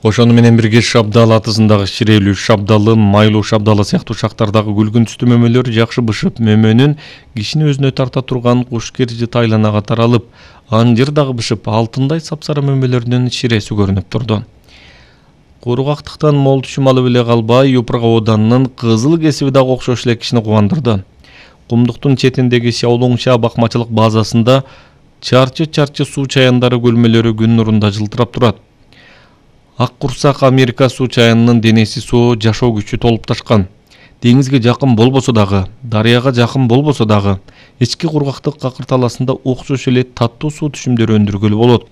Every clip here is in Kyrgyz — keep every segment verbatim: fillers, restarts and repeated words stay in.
Ошону менен бирге Шабдал атызындагы Ширелүү шабдалы, Майлуу шабдалы сыяктуу шактардагы күлгүн түстүү мөмөлөр жакшы бышып, мөмөнүн кишини өзүнө тарта турган кушкержи тайланага таралып, анжыр дагы бышып, алтындай сапсара мөмөлөрүнүн ширеси көрүнүп турду. Кургактыктан мол түшүм алып эле калбай, Юпурга Оданынын кызыл кесиби дагы окшош эле кишини кубандырды. Кумдуктун четиндеги Сяолоңша бакмачылык базасында чарчы-чарчы суу чаяндары көлмөлөрү күн нурунда жылтырап турат. Ак курсак Америка суу чаянынын денеси суу жашоо күчү толуп ташкан. Деңизге жакын болбосо дагы, дарыяга жакын болбосо дагы, ички кургактык какыр таласында окшош эле таттуу суу түшүмдөрү өндүргөлү болот.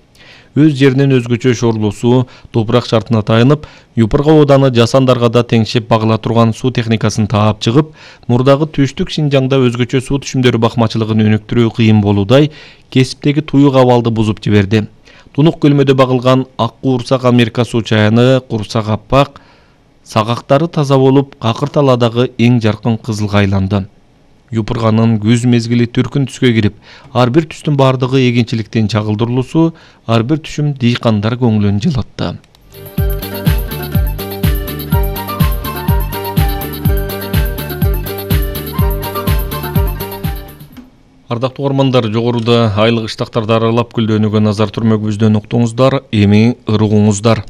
Өз жеринен өзгөчө шорлуу суу, топурак шартына тайынып, Юпурга Оданы жасандарга да теңшеп багыла турган суу техникасын таап чыгып, мурдагы түштүк Шинжаңда өзгөчө суу түшүмдөрү бакмачылыгын өнүктүрүү кыйын болуудай кесиптеги туюк абалды бузуп жиберди. Тунук көлмөдө багылган ак курсак Америка суу чаяны курсак аппак, сагактары таза болуп, какыр таладагы эң жаркын кызылга айланды. Юпурганын күз мезгили түркүн түскө кирип, ар бир түстүн бардыгы эгинчиликтин чагылдырылуусу, ар бир түшүм дыйкандар көңүлүн жылытты. Ардактуу угармандар, жогоруда айлык ыштактарды аралап күлдөөнүгө назар түрмөгүбүздөн уктуңуздар, эми ырыгуңуздар.